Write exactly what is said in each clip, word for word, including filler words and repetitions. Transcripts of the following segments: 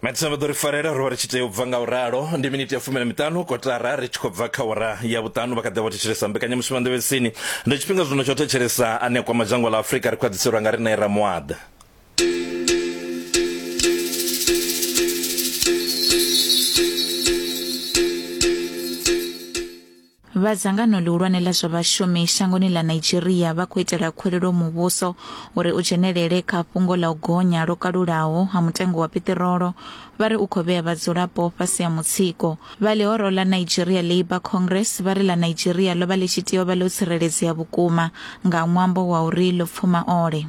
Matsina vha ḓo ri farela ro vha ri tshi tea u bva nga u ralo. Ndi miniti ya fumi na miṱanu kotara ri tshi khou bva kha wara ya vhuṱanu. Vha kha ḓi vha thetshelesa mbekanyamushumo Nḓevhesini. Ndi tshifhinga zwino tsho thetshelesa ane a kwama dzhango ḽa Afrika ri khwaḓhiselwa nga riṋe Ramuaḓa. Vha dzangano ḽihulwane ḽa zwa vhashumi shangoni ḽa Nigeria vha khou itela khuwelelo muvhuso uri u dzhenelele kha fhungo ḽa u gonya lwo kalulaho ha mutengo wa piṱirolo, vha ri u khou vhea vhadzulapo fhasi ha mutsiko. Vha ḽihoro ḽa Nigeria Labour Congress vha ri ḽa Nigeria ḽo vha ḽi tshi tea u vha ḽo tsireledzea vhukuma nga ṅwambo wa uri ḽo pfuma ole.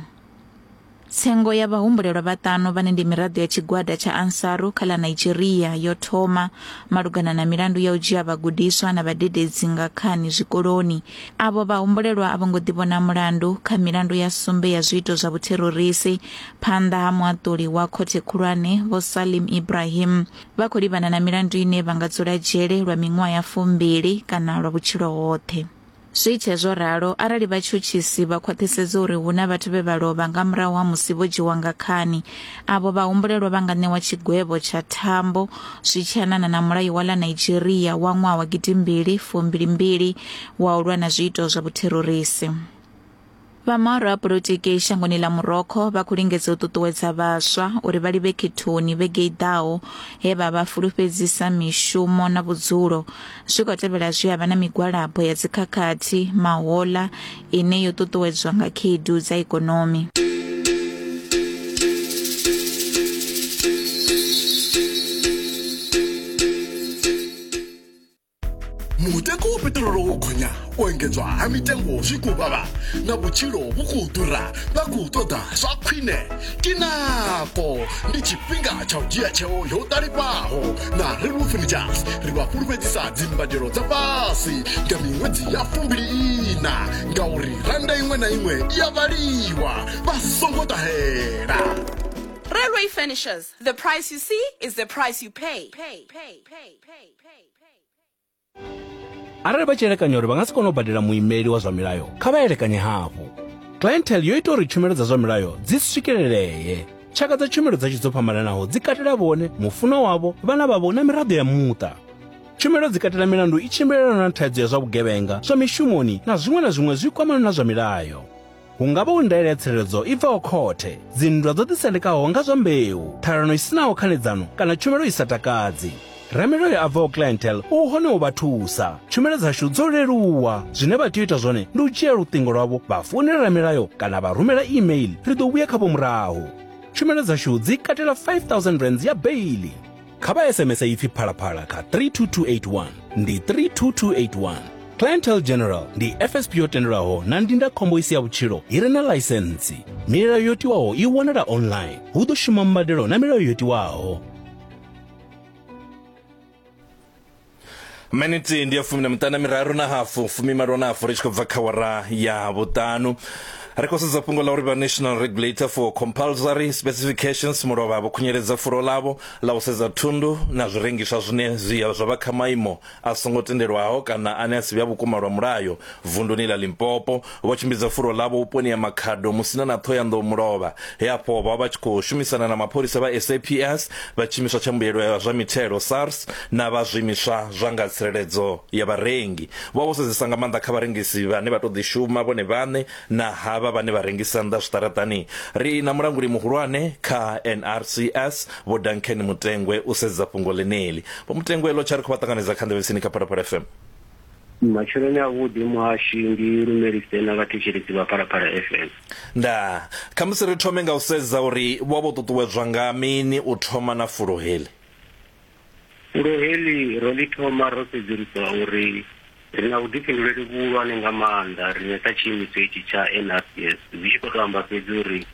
Tsengo ya vhahumbulelwa vhaṱanu vhane ndi miraḓo ya tshigwada tsha Ansaru kha ḽa Nigeria yo thoma malugana na milandu ya u dzhia vhagudiswa na vhadededzi nga khani zwikoloni. Avho vhahumbulelwa a vho ngo ḓivhona mulandu kha milandu ya sumbe ya zwiito zwa vhutherorisi phanḓa ha muaṱuli wa khothe khulwane Vho Salim Ibrahim. Vha khou livhana na milandu ine vha nga dzula dzhele lwa miṅwaha ya fumbili kana lwa vhutshilo hoṱhe. Zwi tshe zwo ralo, arali vhatshutshisi vha khwaṱhisedza uri hu na vhathu vhe vha lovha nga murahu ha musi vho dzhiwa nga khani, avho vhahumbulelwa vha nga ṋewa tshigwevho tsha thambo zwi tshi anana na mulayo wa ḽa Nigeria wa ṅwaha wa gidimbili fumbili mbili wa u lwa na zwiito zwa vhutherorisi. Vha mahoro a polotiki shangoni ḽa Morocco vha khou lingedza u ṱuṱuwedza vhaswa uri vha livhe khethoni vhege i ḓaho he vha vha fulufhedzisa mishumo na vhudzulo. Zwi khou tevhela zwi a vha na migwalabo ya dzikhakhathi mahoḽa ine yo ṱuṱuwedzwa nga khaedu dza ikonomi. Mutengo wa peṱirolo wo gonya, u engedzwa ha mitengo zwi khou vhavha na vhutshilo vhu khou ḓura, vha khou ṱoḓa zwa khwine. Ke nako, ndi tshifhinga tsha u dzhia tsheo yo ṱalifhaho. Na Railway Furnitures ri vha fhulufhedzisa dzimbadelo dza fhasi nga miṅwedzi ya fumbili ina, ngauri randa iṅwe na iṅwe i a vhaliwa, vha songo ṱahela. Railway Furnitures, the price you see is the price you pay. Pay, pay, pay, pay, pay. Arali vha tshi elekanya uri vha nga si kone u badela muimeli wa zwa milayo, kha vha elekanye hafhu. Clientele yo ita uri tshumelo dza zwa milayo dzi swikelelee. Tshaka dza tshumelo dzashu dzo fhambananaho dzi katela vhone, mufunwa wavho, vhana vhavho na miraḓo ya muṱa. Tshumelo dzi katela milandu i tshimbilelanaho na thaidzo ya zwa vhugevhenga, zwa mishumoni na zwiṅwe na zwiṅwe zwi kwamanaho na zwa milayo. Hu nga vha hu ndaela ya tsireledzo i bvaho khothe, dzinndwa dzo ḓisendekaho nga zwa mbeu, ṱhalano i sinaho khanedzano kana tshumelo i sa takadzi. Ramilayo a bvaho Clientele u hone u vha thusa. Tshumelo dzashu dzo leluwa. Zwine vha tea u ita zwone ndi u dzhia luṱingo lwavho vha founela ramilayo kana vha rumela email, ri ḓo vhuya khavho murahu. Tshumelo dzashu dzi katela five thousand rands ya baili. Kha vha S M S ipfi Phalaphala kha three two two eight one, ndi three two two eight one. Clientele General ndi F S P yo tendelwaho na ndindakhombo i si ya vhutshilo i re na ḽaisentsi. Milayo yo tiwaho i wanala online. Hu ḓo shuma mbadelo na milayo yo tiwaho. Miniti ndi ya fumi na miṱanu na miraru na hafu, fumi malo na hafu ri tshi khou bva kha wara ya vhuṱanu. Ri khou sedza fhungo ḽa uri vha National Regulator for Compulsory Specifications mulovha vho khunyeledza fulo ḽavho ḽa u sedza thundu na zwirengiswa zwine zwi zwa vha kha maimo a songo tendelwaho kana ane a si vhe a vhukuma lwa mulayo vunduni ḽa Limpopo. Vho tshimbidza fulo ḽavho vhuponi ha Makhado, Musina na Ṱhohoyanḓou mulovha, he afho vha vha tshi khou shumisana na mapholisa vha S A P S, vha tshiimiswa tsha mbuyelo ya zwa mithelo SARS na vha zwiimiswa zwa nga tsireledzo ya vharengi. Vho vho sedzesa nga maanḓa kha vharengisi vhane vha tou ḓi shuma vhone vhaṋe na havha vhane vha rengisa nnḓa zwiṱaraṱani. Ri na mulanguli muhulwane kha N R C S Vho Duncan Mutengwe u sedza fhungo ḽeneḽi. Vho Mutengwe, ḽo tsha ri khou vha ṱanganedza kha Nḓevhesini kha Phalaphala F M. Matsheloni avhuḓi muhashi, ndi lumelise na vhathetshelesi vha Phalaphala F M. Nda khamusi ri thome nga u sedza uri vho vho ṱuṱuwedzwa nga mini u thoma na fulo heḽi. Fulo heḽi ro ḽi thoma ro sedzulusa uri ri na vhuḓifhinduleli vhuhulwane nga maanḓa riṋe sa tshiimiswa itshi tsha N R C S, zwi tshi khou tou amba fhedzi uri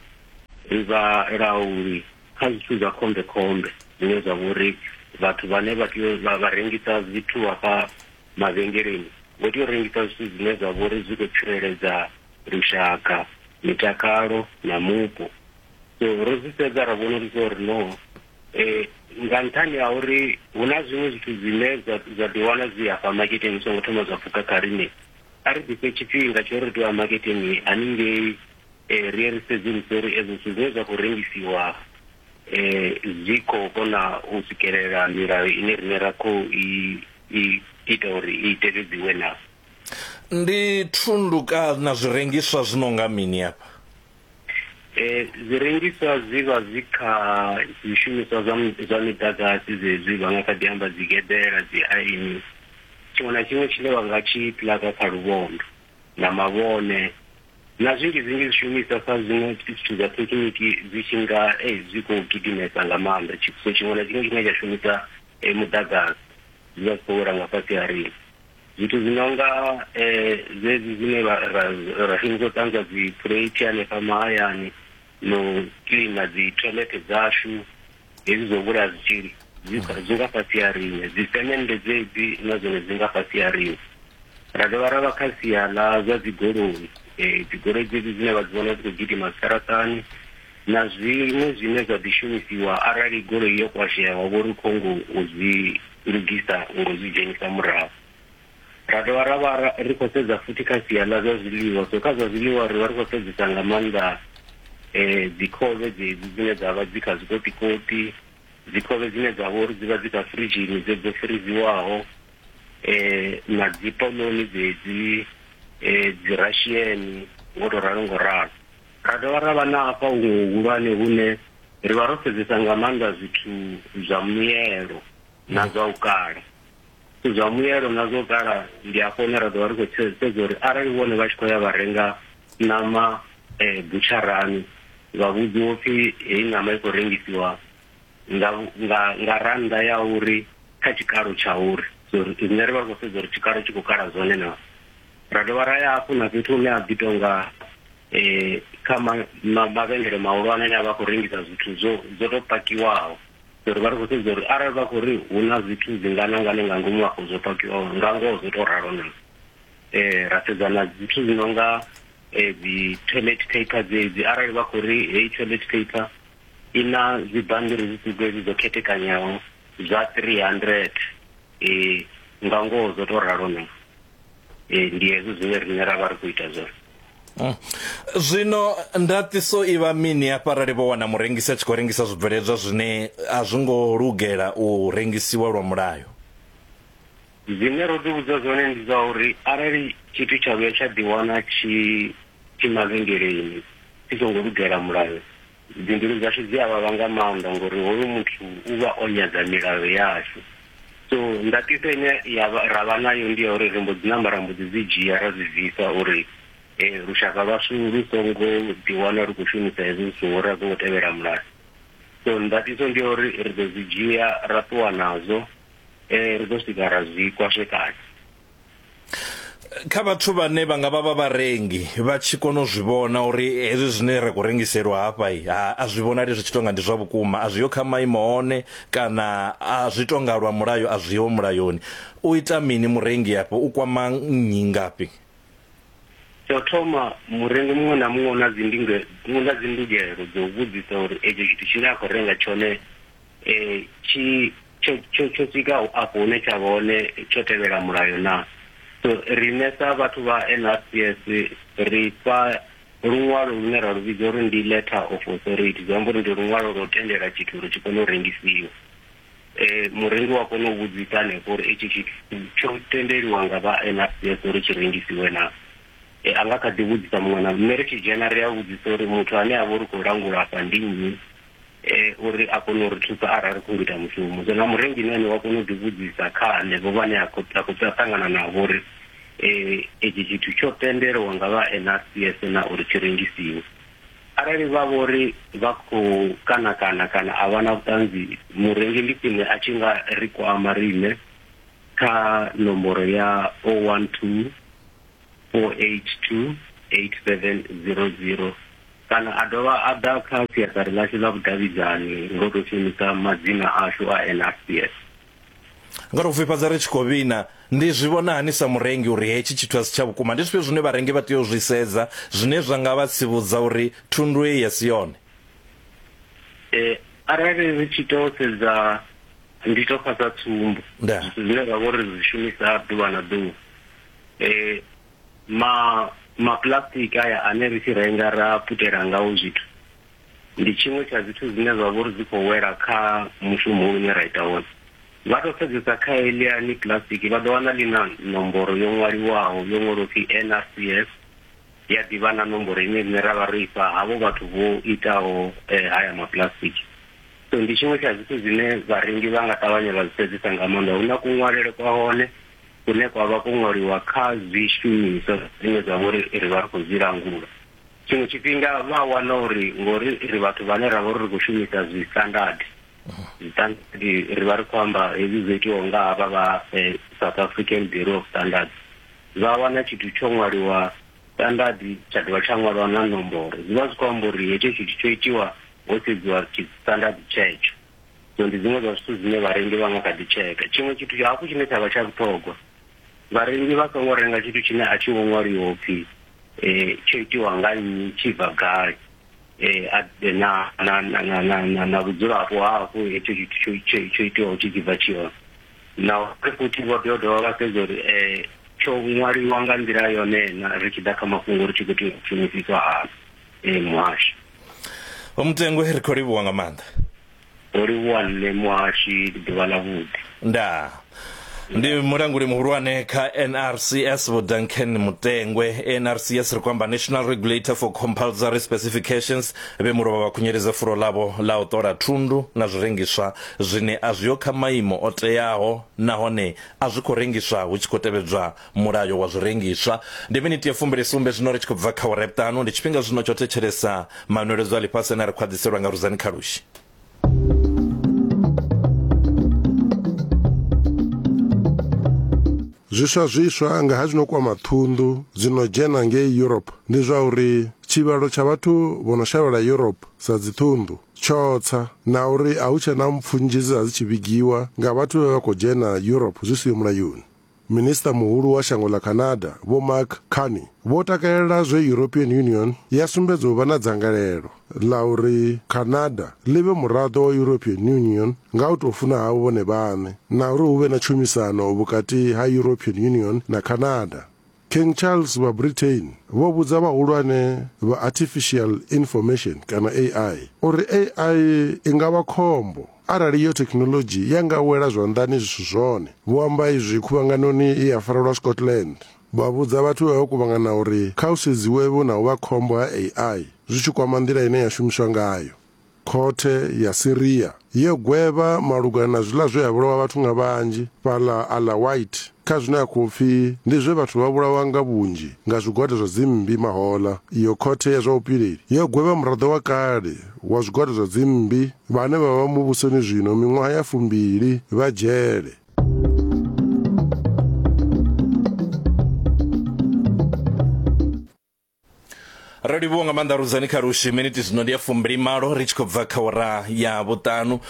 ri vhalauli kha zwithu zwa khombekhombe zwine zwa vha uri vhathu vhane vha tea vha rengisa zwithu hafha mavhengeleni vho tea u rengisa zwithu zwine zwa vha uri zwi khou tsireledza lushaka, mitakalo na mupo. So ro zwi sedza ra vhona uri no eh nga nṱhani ha uri hu na zwiṅwe zwithu zwine zwa ḓi wana zwi hafha maketeni zwi songo thoma zwa pfuka kha riṋe, a ri ḓifhe tshifhinga tsho ri tea maketeni haningei, ri ye ri sedzuluse uri ezwo zwithu zwine zwa khou rengisiwa eh zwi khou kona u swikelela milayo ine rine ra khou i i ita uri i tevhedziwe na. Ndi thundu kana zwirengiswa zwi no nga mini afha? Eh zwirengiswa zwi vha zwi kha zwishumiswa zwa zwa miḓagasi zwezwi vha nga kha ḓi amba dzi geḓela, dzi aini, tshiṅwe na tshiṅwe tshine vha nga tshi plaka kha luvhondo na mavhone na zwinzhi zwinzhi zwishumiswa sa zwiṅwe zwithu zwa thekiniki zwi tshi nga eh zwi khou gidimesa nga maanḓa. So tshiṅwe na tshiṅwe tshine tsha shumisa muḓagasi zwi vha zwi khou wela nga fhasi ha riṋe. Zwithu zwi nonga eh zwezwi zwine ra ra shumisa u ṱanzwa dzi phuleithi hanefha mahayani no kiḽina dzi toilet dzashu, hezwi zwo vhulaya zwitzhili zwi zwi nga fhasi ha riṋe. Dzi semende dzedzi na zwone zwi nga fhasi ha riṋe. Ra dovha ra vha kha sia ḽa zwa dzi goloi, eh dzi goloi dzedzi dzine vha dzi vhona dzi khou gidima zwiṱaraṱani na zwiṅwe zwine zwa ḓi shumisiwa arali goloi yo kwashea wa vho ri khongo u zwi lugisa ngo zwi dzhenisa murahu. Ra dovha ra vha ri khou sedza futhi kha sia ḽa zwa zwiḽiwa. So kha zwa zwiḽiwa ri vha ri khou sedzesa nga maanḓa eh dzi khovhe dzedzi dzine dza vha dzi kha zwikoṱikoṱi, dzi khovhe dzine dza vha uri dzi vha dzi kha firidzhini dze dzo firiziwaho, eh na dzi poloni dzedzi, eh dzi Russian ngo to ralo ngo ralo. Ra dovha ra vha na hafha huṅwe huhulwane hune ri vha ro sedzesa nga maanḓa zwithu zwa muyelo na zwa u kala. Zwa muyelo na zwo kala ndi afho hune ra ḓovha ri khou sedza uri arali vhone vha tshi khou ya vha renga ṋama eh butsharani vha vhudziwa upfhi heyi ṋama i khou rengisiwa nga nga nga rannda ya uri kha tshikalo tsha uri, so riṋe ri vha ri khou sedza uri tshikalo tshi khou kala zwone na. Ra dovha ra ya hafhu na fhethu hune ha ḓi tonga eh kha mavhengele mahulwane ane a vha khou rengisa zwithu zwo zwo to pakiwaho. So ri vha ri khou sedza uri arali vha khou ri hu na zwithu zwingana ngana nga ngomu afho zwo pakiwaho nga ngoho zwo to ralo na. Eh ra sedza na zwithu zwi nonga eh dzi toilet paper dzedzi, arali vha khou ri heyi toilet paper i na zwibammbiri zwiṱuku hezwi zwo khethekanyaho zwa three hundred, eh nga ngoho zwo to ralo na. Eh ndi hezwo zwine riṋe ra vha ri khou ita zwone. Zwino ndaṱiso i vha mini hafha arali vho wana murengisi a tshi khou rengisa zwibveledzwa zwine a zwi ngo lugela u rengisiwa lwa mulayo? Zwine ro ḓi vhudza zwone ndi zwa uri arali tshithu tsha vhuya tsha ḓiwana tshi tshi mavhengeleni tshi songo lugela mulayo, dzimbilu dzashu dzi a vhavha nga maanḓa ngori hoyu muthu u vha o nyadza milayo yashu. So ndaṱiso ine ya ra vha nayo ndi ya uri ri mbo dzi namba ra mbo ḓi dzi dzhia ra zwi bvisa uri eh lushaka lwashu lu songo ḓiwana ri khou shumisa hezwi zwithu ngori a zwo ngo tevhela mulayo. So ndaṱiso ndi ya uri ri ḓo zwi dzhia ra ṱuwa nazwo, eh ri ḓo swika ra zwi kwashekanya. Kha vhathu vhane vha nga vha vha vharengi vha tshi kona u zwi vhona uri hezwi zwine ra khou rengiselwa hafha a zwi vhonali zwi tshi tonga ndi zwa vhukuma, a zwi yo kha maimo one kana a zwi tonga lwa mulayo a zwiho mulayoni, u ita mini murengi afho? U kwama nnyi ngafhi? Tsha u thoma, murengi muṅwe na muṅwe una dzi una dzi ndugelo dzo u vhudzisa uri etsho tshithu tshine a khou renga tshone eh tshi tsho tsho tsho swika afho hune tsha vha hone tsho tevhela mulayo na. So riṋe sa vhathu vha N R C S ri fha luṅwalo lune ra lu vhidza uri ndi letter of authority, zwi amba uri ndi luṅwalo lwo tendela tshithu uri tshi kone u rengisiwa. Eh murengi wa kona u vhudzisa hanefho uri etshi tshithu tsho tendeliwa nga vha N R C S uri tshi rengisiwe na. E, a nga kha ḓi vhudzisa muṅwe na nṋe ri tshi dzhena ri a vhudzisa uri muthu ane a vha uri khou langula afha ndi nnyi, eh uri a kone u ri thusa arali ri khou ita mushumo. So na murengi na ene wa kona u ḓi vhudzisa kha hanevho vhane a khou a khou ṱangana navho uri eh etshi tshithu tsho tendelwa nga vha N R C S na uri tshi rengisiwe. Arali vha vhori vha khou kana kana kana a vha na vhuṱanzi, murengi ndi khwine a tshi nga ri kwama riṋe kha nomboro ya oh one two four eight two eight seven zero zero kana a dovha a ḓa kha siaṱari ḽashu ḽa vhudavhidzani ngo to shumisa madzina ashu a N R C S. Nga u fhifhadza ri tshi khou vhina, ndi zwi vhona hani sa murengi uri hetshi tshithu a si tsha vhukuma? Ndi zwifhio zwine vharengi vha tea u zwi sedza zwine zwa nga vha tsivhudza uri thundu eyi ya si yone? Eh arali ri tshi to sedza, ndi to fha sa tsumbo zwithu zwine ra vha uri zwi shumisa ḓuvha na ḓuvha, eh ma ma plastic aya ane ri tshi renga ra putela ngao zwithu, Ndi tshiṅwe tsha zwithu zwine zwa vha uri zwi khou wela kha mushumo une ra ita wone. Vha to sedzesa kha eliani plastic vha ḓo wana ḽi na nomboro yo ṅwaliwaho yo ṅwalwa upfi N R C S, ya ḓivha na nomboro ine rine ra vha ro ifha havho vhathu vho itaho eh, haya maplastic. So ndi tshiṅwe tsha zwithu zwine vharengi vha nga ṱavhanya vha zwi sedzesa nga maanḓa. Hu na kuṅwalele kwa hone kune kwa vha ko ṅwaliwa kha zwishumiswa zwine zwa vha uri ri vha ri khou zwi langula. Tshiṅwe tshifhinga vha wana uri ngori ri vhathu vhane ra vha uri ri khou shumisa zwi standard, standard ri vha ri khou amba hezwi zwo itiwaho nga havha vha eh, South African Bureau of Standards, vha wana tshithu tsho ṅwaliwa standard tsha dovha tsha ṅwaliwa na nomboro, zwi vha zwi khou amba uri hetsho tshithu tsho itiwa ho sedziwa standard tshetsho. So ndi dziṅwe dza zwithu zwine vharengi vha nga kha ḓi tsheka. Tshiṅwe tshithu hafhu tshine tsha vha tsha vhuṱhogwa, vharengi vha songo renga tshithu tshine a tshi ngo ṅwaliwa upfhi eh tsho itiwa nga nnyi, tshi bva gai, eh na na na na na na vhudzulapo hafhu hetsho tshithu tsho tsho itiwaho tshi tshi bva tshi hone. Na uri futhi vho tea u dovha vha sedza uri eh tsho ṅwaliwa nga nḓila yone na ri tshi ḓa kha mafhungo uri tshi khou tea u shumisiswa hani. Eh muhashi Vho Mutengwe, ri khou livhuwa nga maanḓa. Ro livhuwa nṋe muhashi, ḓuvha ḽa vhuḓi. Ndaa. Ndi mulanguli muhulwane kha N R C S Vho Duncan Mutengwe. N R C S ri khou amba National Regulator for Compulsory Specifications, vhe mulovha vha khunyeledza fulo ḽavho ḽa u ṱola thundu na zwirengiswa zwine a zwiho kha maimo o teaho nahone a zwi khou rengiswa hu tshi khou tevhedzwa mulayo wa zwirengiswa. Ndi miniti ya fumbili sumbe zwino ri tshi khou bva kha awara ya vhuṱanu. Ndi tshifhinga zwino tsho thetshelesa manweledzo a ḽifhasi ane a ri khwaḓhiselwa nga Ruzani Khalushi. Zwiswa zwiswa nga ha zwino kwama thundu dzino dzhena ngei Europe ndi zwa uri tshivhalo tsha vhathu vho no shavhela Europe sa dzithundu tsho tsa, na uri a hu tshe na mpfu nnzhi dze dza dzi tshi vhigiwa nga vhathu vhe vha khou dzhena Europe zwi siho mulayoni. Minista muhulu wa shango ḽa Canada Vho Mark Carney vho takalela zwe European Union ya sumbedza u vha na dzangalelo ḽa uri Canada ḽi vhe muraḓo wa European Union nga u tou funa havho vhone vhaṋe, na uri hu vhe na tshumisano vhukati ha European Union na Canada. King Charles wa Britain vho vhudza vhahulwane vha Artificial Information kana A I uri A I i nga vha khombo arali iyo thekhinoḽodzhi ya nga wela zwanḓani zwi si zwone. Vho amba izwi khuvhanganoni i ya farelwa Scotland. Vha vhudza vhathu vhe vha kuvhangana uri kha hu sedziwe na u vha khombo ha A I zwi tshi kwama nḓila ine ya shumiswa ngayo. Khothe ya Syria yo gwevha malugana na zwiḽa zwe ya vhulawa vhathu nga vhanzhi fhaḽa Alawite kha zwine ya khou pfi ndi zwe vhathu vha vhulawa nga vhunzhi nga zwigwada zwa dzimmbi mahola. Iyo khothe ya zwa vhupileli yo gwevha muraḓo wa kale wa zwigwada zwa dzimmbi vhane vha vha muvhusoni zwino miṅwaha ya fumbili vha dzhele. Ro livhuwa nga maanḓa Ruzani Khalushi. Miniti zwino ndi ya fumbili malo ri tshi khou bva kha awara ya vhuṱanu.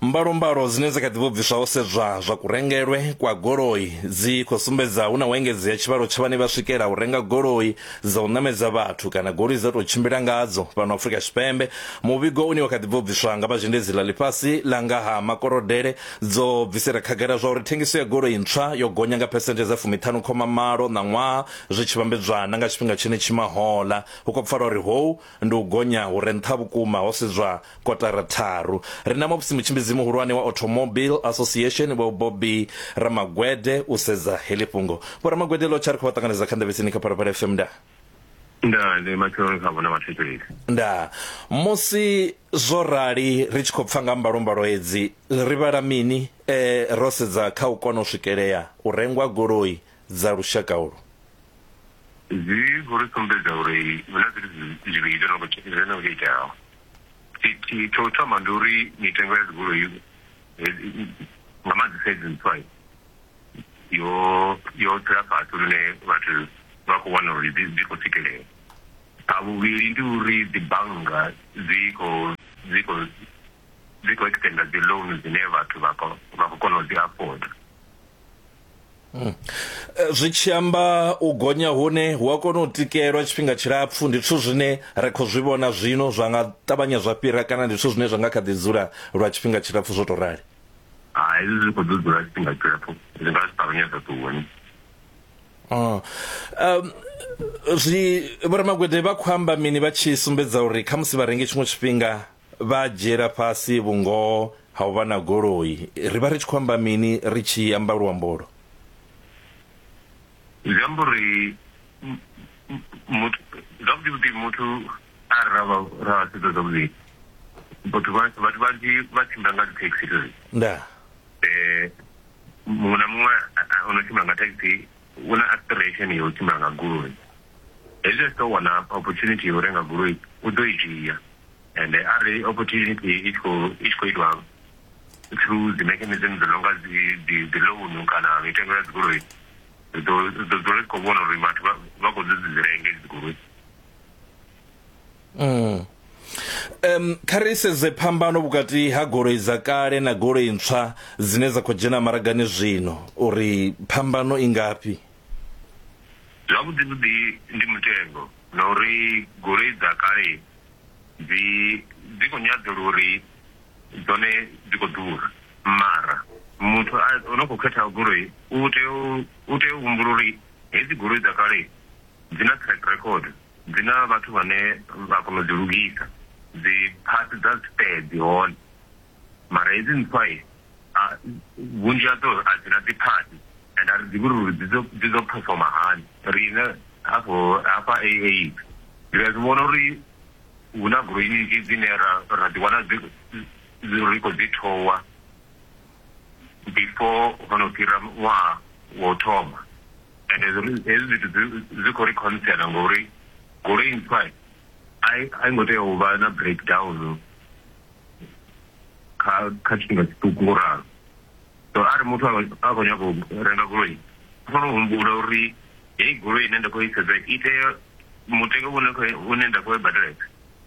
Mbalombalo dzine dza kha ḓi vho bviswa ho sedzwa zwa kurengelwe kwa goloi dzi khou sumbedza hu na u engedzea tshivhalo tsha vhane vha swikela u renga goloi dza u ṋamedza vhathu kana goloi dza tou tshimbila ngadzo fhano Afrika Tshipembe. Muvhigo une wa kha ḓi bvo bviswa nga vha zhendedzi ḽa ḽifhasi ḽa nga ha makolodele dzo bvisela khagala zwa uri thengiso ya goloi ntswa yo gonya nga phesenthe dza fumiṱhanu khoma malo ṋaṅwaha zwi tshi vhambedzwa na nga tshifhinga tshenetshi mahola. Hu khou pfala uri hou ndi u gonya hu re nṱha vhukuma ho sedzwa kotara tharu. Ri na muvhusi mutshimbidzi muhulwane wa Automobile Association Vho Bobby Ramagwede u sedza heḽi fhungo. Vho Ramagwede, ḽo tsha ri khou vha ṱanganedza kha Nḓevhetsini kha Phalaphala F M. Nda nda ndi matsheloni kha vhona vhathetshelesi. Nda musi zwo rali ri tshi khou pfa nga mbalombalo hedzi ri vhala mini eh, ro sedza kha u kona u swikelea u rengwa goloi dza lushaka ulu? Zwi khou ri sumbedza uri hu na zwithu zwivhili zwo no khou iteaho. Tsho u thoma ndi uri mitengo ya dzigoloi nga maanḓesa hedzi ntswa yo yo tsela fhasi lune vhathu vha khou wana uri dzi khou swikelea. Tsha vhuvhili ndi uri dzi bannga dzi khou dzi khou dzi khou extenda dzi loan dzine vhathu vha khou kona u dzi afforda. Mm. Zwi tshi amba u gonya hune hu a kona u tikelwa tshifhinga tshilapfu, ndi zwithu zwine ra khou zwi vhona zwino zwa nga ṱavhanya zwa fhira kana ndi zwithu zwine zwa nga kha ḓi dzula lwa tshifhinga tshilapfu zwo tou rali? Hai, hezwi zwi khou ḓo dzula tshifhinga tshilapfu, zwi nga si ṱavhanye zwa ṱuwa. Oh. Um, zwi Vho Ramagwede vha khou amba mini vha tshi sumbedza uri khamusi vharengi tshiṅwe tshifhinga vha dzhiela fhasi vhungoho ha u vha na goloi. Ri vha ri tshi khou amba mini ri tshi amba luambolo? Zwi amba uri muthu zwavhuḓi vhuḓi muthu arali ra vha ra sedza zwavhuḓi vhathu vhathu vhanzhi vha tshimbila nga dzi taxi. Nda eh muṅwe na muṅwe ono tshimbila nga taxi u na aspiration ya u tshimbila nga goloi. Hezwi a tshi tou wana opportunity ya u renga goloi u ḓo i dzhia, and arali opportunity i tshi khou i tshi khou itwa through the mechanism dzi nonga dzi dzi loan kana mitengo ya dzi goloi, ri ḓo ri ḓo dzula ri khou vhona uri vhathu vha khou dzi dzi renge dzi goloi. Mm. Um, kha ri sedze phambano vhukati ha goloi dza kale na goloi ntswa dzine dza khou dzhena maragani zwino, uri phambano i ngafhi? Zwavhuḓi vhuḓi ndi mutengo, na uri goloi dza kale dzi dzi khou nyadzelwa uri dzone dzi khou ḓura, mara muthu o no khou khetha goloi u tea u tea u humbula uri hedzi goloi dza kale dzi na track record, dzi na vhathu vhane vha kona u dzi lugisa, dzi parts dza spare dzi hone. Mara hedzi ntswa vhunzhi hadzo a dzi na dzi parts, and a ri ḓivhi uri dzi dzi ḓo performa hani. Riṋe hafho hafha A A ri a zwi vhona uri hu na goloi nnzhi dzine ra ra ḓi wana dzi ri khou dzi thowa before ho no fhira ṅwaha wa u thoma, and hezwi zwithu zwi khou ri concern ngori goloi ntswa a i ngo tea u vha na breakdown kha kha tshifhinga tshiṱuku ngo ralo. So arali muthu a khou nyaga u renga goloi u fanela u humbula uri heyi goloi ine nda khou i sedza i tea mutengo une une nda khou i badela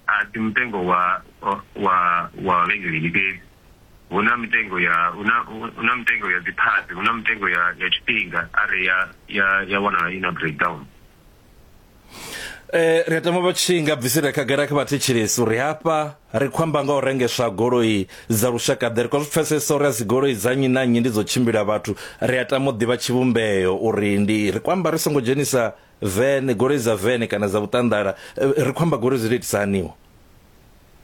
a si mutengo wa wa wa vhengeleni fhedzi. Hu na mitengo ya hu na hu na mitengo ya dzi parts, hu na mitengo ya ya tshifhinga arali ya ya ya wanala i na breakdown. Eh ri tama vha tshi nga bvisela khagala kha vhathetshelesi uri hafha ri khou amba nga u rengeswa goloi dza lushaka ḓe. Ri khou zwi pfesesa uri a si goloi dza nnyi na nnyi ndi dzo tshimbila vhathu, ri a tama u ḓivha tshivhumbeo uri ndi ri khou amba ri songo dzhenisa vene, goloi dza vene kana dza vhuṱanḓala, ri khou amba goloi dzi itisa haniho.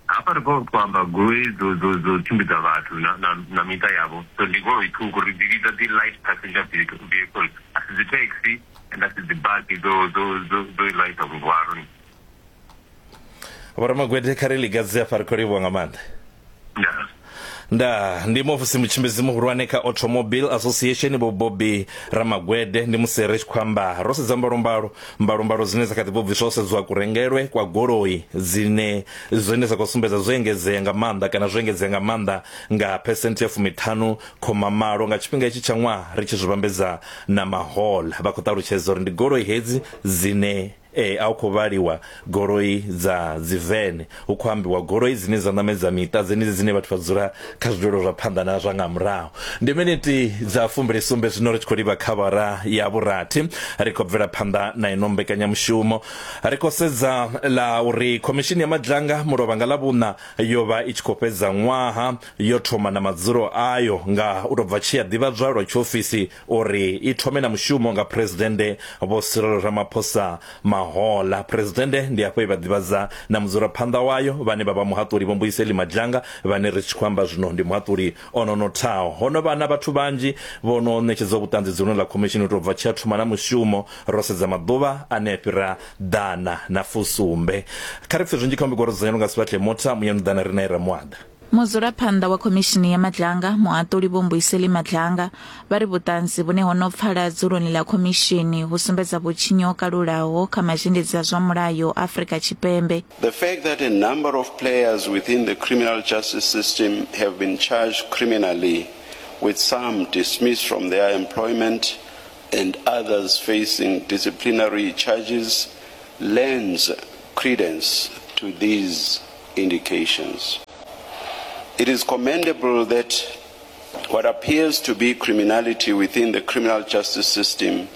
Hafha ri khou amba goloi dzo dzo dzo tshimbidza vhathu na na na miṱa yavho, so ndi goloi ṱhukhu ri dzi vhidza dzi light passenger vehicle, a si dzi taxi and a si dzi basi dzo dzo dzo dzo light muhwalo. Vho Ramagwede, kha ri ligadze afha, ri khou livhuwa nga maanḓa. Ndaa. Nda ndi muofisi mutshimbidzi muhulwane kha Automobile Association Vho Bobby Ramagwede. Ndi musi ri tshi khou amba ro sedza mbalombalo mbalombalo dzine dza kha ḓi bva bviswa sedziwa kurengelwe kwa goloi dzine zwine dza khou sumbedza zwo engedzea nga maanḓa kana zwo engedzea nga maanḓa nga phesenthe ya fumiṱhanu khoma malo nga tshifhinga itshi tsha ṅwaha ri tshi zwi vhambedza na mahola. Vha khou ṱalutshedza uri ndi goloi hedzi dzine e a khou vhaliwa goloi dza dzi vene, hu khou ambiwa goloi dzine dza ṋamedza miṱa dzenedzi dzine vhathu vha dzula kha zwidulo zwa phanḓa na zwa nga murahu. Ndi miniti dza fumbili sumbe zwino ri tshi khou livha kha vhara ya vhurathi, ri khou bvela phanḓa na ino mbekanyamushumo. Ri khou sedza ḽa uri khomishini ya Madlanga mulovha nga ḽa vhuṋa yo vha i tshi khou fhedza ṅwaha yo thoma na madzulo ayo nga u tou bva tshi ya ḓivhadzwa lwa tshiofisi uri i thome na mushumo nga Phuresidennde Vho Cyril Ramaphosa Mahola. Phuresidennde ndi afho e vha ḓivhadza na mudzulaphanḓa wayo vhane vha vha muhaṱuli Vho Mbuyiseli Madlanga, vhane ri tshi khou amba zwino ndi muhaṱuli o no nothaho. Ho no vha na vhathu vhanzhi vho no ṋetshedza vhuṱanzi dzuloni ḽa khomishini u tou bva tshi a thoma na mushumo, ro sedza maḓuvha ane a fhira ḓana na fusumbe. Kha ri pfe zwinzhi kha mbigoro dzudzanyelwa nga Sibahle Motha Muyanu ḓana ri nae Ramuaḓa. Mudzulaphanḓa wa khomishini ya Madlanga muhaṱuli Vho Mbuyiseli Madlanga vha ri vhuṱanzi vhune ho no pfala dzuloni ḽa khomishini hu sumbedza vhutshinyi ho kalulaho kha mazhendedzi a zwa mulayo Afrika Tshipembe. The fact that a number of players within the criminal justice system have been charged criminally, with some dismissed from their employment and others facing disciplinary charges, lends credence to these indications. It is commendable that what appears to be criminality within the criminal justice system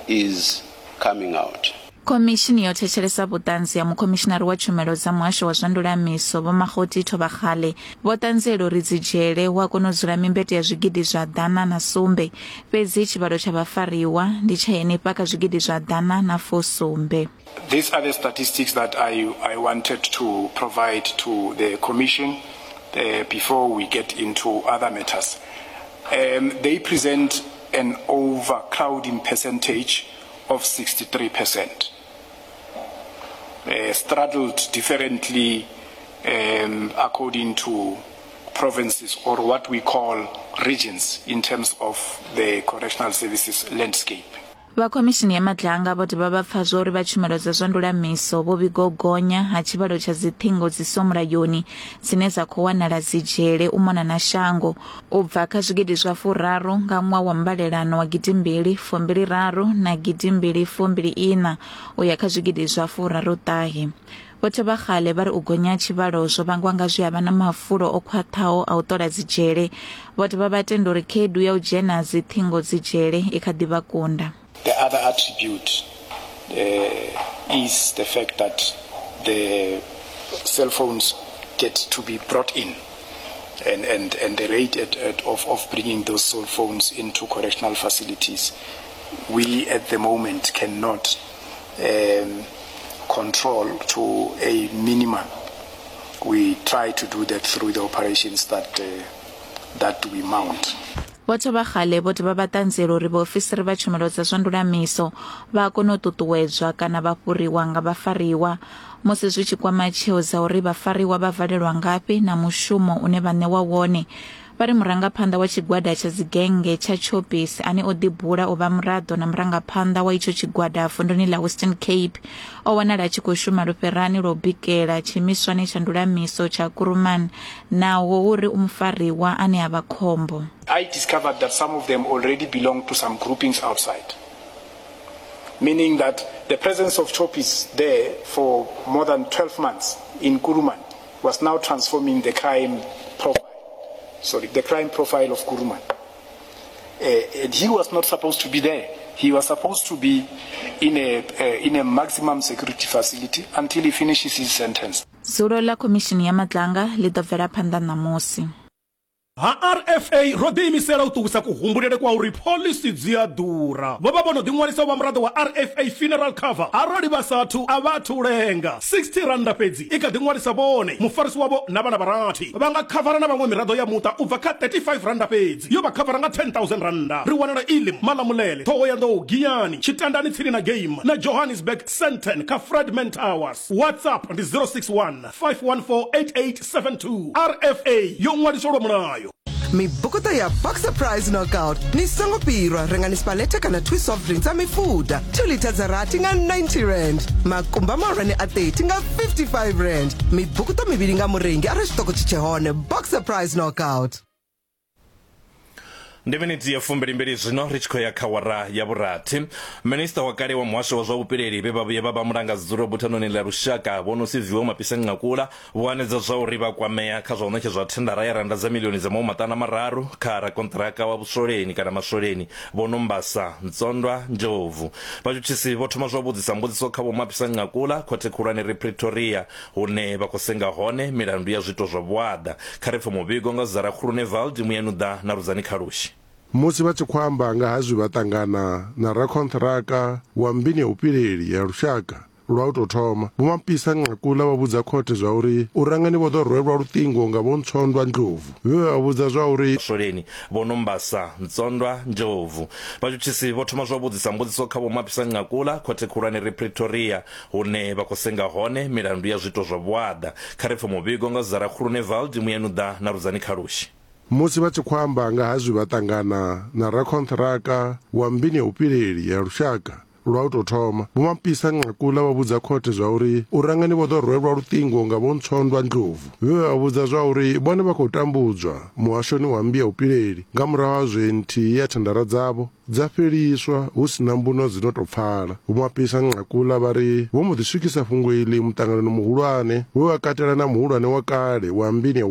is coming out. Khomishini yo thetshelesa vhuṱanzi ha mukhomishinari wa tshumelo dza muhasho wa zwa ndulamiso Vho Makgoti Thobakgale vho ṱanziela uri dzi dzhele hu a kona u dzula mimbete ya zwigidi zwa ḓana na sumbe, fhedzi tshivhalo tsha vhafariwa ndi tsha henefha kha zwigidi zwa ḓana na fusumbe. These are the statistics that I, I wanted to provide to the Commission uh, before we get into other matters. Um, they present an overcrowding percentage of sixty-three percent. Uh, straddled differently um, according to provinces or what we call regions in terms of the correctional services landscape. Vha khomishini ya Madlanga vho dovha vha pfa zwa uri vha tshumelo dza zwa ndulamiso vho vhiga u gonya ha tshivhalo tsha dziṱhingo dzi siho mulayoni dzine dza khou wanala dzi dzhele u mona na shango, u bva kha zwigidi zwa furaru nga ṅwaha wa mbalelano wa gidimbili fumbili raru na gidimbili fumbili ina u ya kha zwigidi zwa furaru ṱahe. Vho Thobakgale vha ri u gonya tshivhalo zwo vhangwa nga zwi avha na mafulo o khwaṱhaho a u ṱola dzi dzhele. Vho dovha vha tenda uri khaedu ya u dzhena dziṱhingo dzi dzhele i kha ḓi vha kunda. The other attribute uh, is the fact that the cell phones get to be brought in, and, and, and the rate at, at, of, of bringing those cell phones into correctional facilities, we at the moment cannot um, control to a minimum. We try to do that through the operations that, uh, that we mount. Vho Thobakgale vho dovha vha ṱanziela uri vhaofisiri vha tshumelo dza zwa ndulamiso vha kona u ṱuṱuwedzwa kana vha fhuriwa nga vhafariwa musi zwi tshi kwama tsheo dza uri vhafariwa vha valelwa ngafhi na mushumo une vha ṋewa wone. Vha ri murangaphanḓa wa tshigwada tsha dzigenge tsha Choppies ane o ḓibula u vha muraḓo na murangaphanḓa wa itsho tshigwada vunduni ḽa Western Cape o wanala a tshi khou shuma lufherani lwa u bikela tshiimiswani tsha ndulamiso tsha Kuruman, naho uri u mufariwa ane a vha khombo. I discovered that some of them already belong to some groupings outside, meaning that the presence of Choppies there for more than twelve months in Kuruman was now transforming the crime profile. Sorry, the crime profile of Kuruman. Uh, and he was not supposed to be there. He was supposed to be in a, uh, in a maximum security facility until he finishes his sentence. Dzulo ḽa khomishini ya Madlanga ḽi ḓo bvela phanḓa ṋamusi. Ha R F A ro ḓiimisela u ṱuwisa kuhumbulele kwa uri phoḽisi dzi a ḓura. Vho vha vho no ḓiṅwalisa u vha muraḓo wa R F A funeral cover arali vha sathu a vha athu lenga. sixty randa fhedzi i kha ḓiṅwalisa vhone, mufarisi wavho na vhana vha rathi. Vha nga khavara na vhaṅwe miraḓo ya muṱa u bva kha thirty-five randa fhedzi, yo vha khavara nga ten thousand randa. Ri wanala Elim, Malamulele, Thohoyandou, Giyani, Tshitandani tsini na Game na Johannesburg Sandton kha Fredman Towers. WhatsApp ndi zero six one, five one four, eight eight seven two. R F A yo ṅwaliswa lwa mulayo. Mibukuto ya Boxer Prize Knockout ni songo pirwa rengani spaleta kana two soft drinks a mifuda two liters dza rathi nga ninety rand, makumba mahulwane a thirty nga fifty-five rand, mibukuto mivhili nga murengi arali tshiṱoko tshi tshe hone. Boxer Prize Knockout. Ndi miniti ya fumbilimbili zwino ri tshi khou ya kha wara ya vhurathi. Minista wa kale wa muhasho wa zwa vhupileli vhe vha vhuya vha vha mulangadzulo buthanoni ḽa lushaka Vho Nosiviwe Mapisa Nqakula vho hanedza zwa uri vha kwamea kha zwa u ṋetshedzwa thendara ya randa dza milioni dza mahumimaṱanu mararu kha rakonṱiraka wa vhuswoleni kana maswoleni Vho Nombasa Ntsondwa Ndlovu. Vhatshutshisi vho thoma zwa vhudzisa mbudziso kha Vho Mapisa Nqakula khothe khulwane ri Pretoria hune vha khou senga hone milandu ya zwiito zwa vhuaḓa. Kha ri pfe muvhigo nga Zara Khulunevald Muyanuḓa na Rudzani Khalushi. Musi vha tshi khou amba nga ha zwi vha ṱangana na rakonṱiraka wa mbini ya vhupileli ya lushaka lwa u tou thoma, Vho Mapisa Nqakula vha vhudza khothe zwa uri u rangani vho ḓo rwelwa luṱingo nga Vho Ntsondwa Ndlovu vhe vha vhudza zwa uri Swoleni Vho Nombasa Ntsondwa Ndlovu. Vhatshutshisi vho thoma zwa vhudzisa mbudziso kha Vho Mapisa Nqakula khothe khulwane ri Pretoria hune vha khou senga hone milandu ya zwiito zwa vhuaḓa. Kha ri pfe muvhigo nga Zara Khulunevald Muyanuḓa na Rudzani Khalushi. Musi vha tshi khou amba nga ha zwi vha ṱangana na rakonṱiraka wa mbini ya vhupileli ya lushaka lwa u tou thoma, Vho Mapisa Nqakula vha vhudza khothe zwa uri u rangani vho ḓo rwelwa luṱingo nga Vho Ntsondwa Ndlovu vhe vha vhudza zwa uri vhone vha khou tambudzwa muhashoni wa mmbi ya vhupileli nga murahu ha zwe nthihi ya thendara dzavho dza fheliswa hu sina mbuno dzi no tou pfala. Vho Mapisa Nqakula vha ri vho mbo ḓi swikisa fhungo iḽi muṱanganoni muhulwane we wa katela na muhulwane wa kale wa mbini ya